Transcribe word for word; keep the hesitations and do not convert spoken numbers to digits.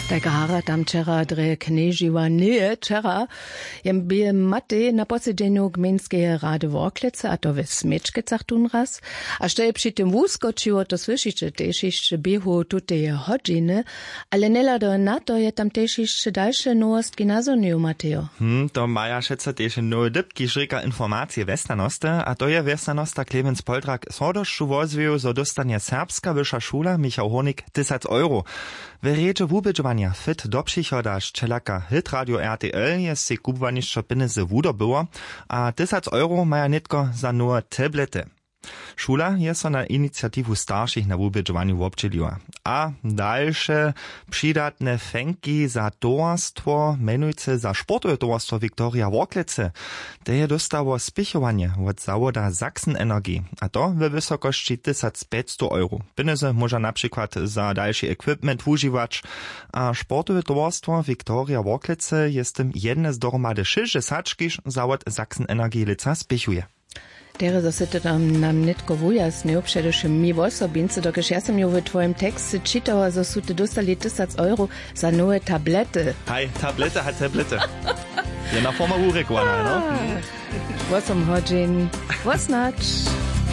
Tak hara tam wčera drje knježiła njeje wčera, jen bě matej na posedźenju gmejnskeje rady worklecy a to w směčkecach tón raz. A što je při tym wuskočiło, to słyšiće tež hišće běhu tuteje hodźiny. Ale njehlado na to je tam tež hišće dalše nowostki nazhonjeju, matejo. Hm to maja wšetco tež nowe dypki žrěka informacije wjesnjanosty a to je wjesnjanosta klemenc poldrak z hordosću wozwěju zo dóstanje serbska wyša šula michał hórnik tysac euro. W rjedźe wubědźowanja fit do přichoda šćelaka hitradio rtl je sej kubłanišćo pjenjezy wudobyło. A tysac euro maja nětko za nowe tablety. Šula je so na iniciatiwu staršich na wubědźowanju wobdźěliła. A dalše přidatne fenki za towarstwo mjenujcy za sportowe towarstwo viktoria worklecy. Te je dóstało spěchowanje wot zawoda sachsen energy, a to we wysokosći tysac pjećstow euro. Pjenjezy móža na přikład za dalši equipment wužiwać. A sportowe towarstwo viktoria worklecy je z tym jedne z dohromady šěsćdźesat kiž zawod sachsen energy lětsa spěchuje. Derje zo sy to tam nam nětko wujasnju, předewšěm mi wosobincy dokelž ja sym ju w twojim teksce čitała zo su ty dóstali tysac euro za nowe tablety. Haj tablety haj tablety. Jedna forma wurěkowana no. Wosom hodźin. Wosnać.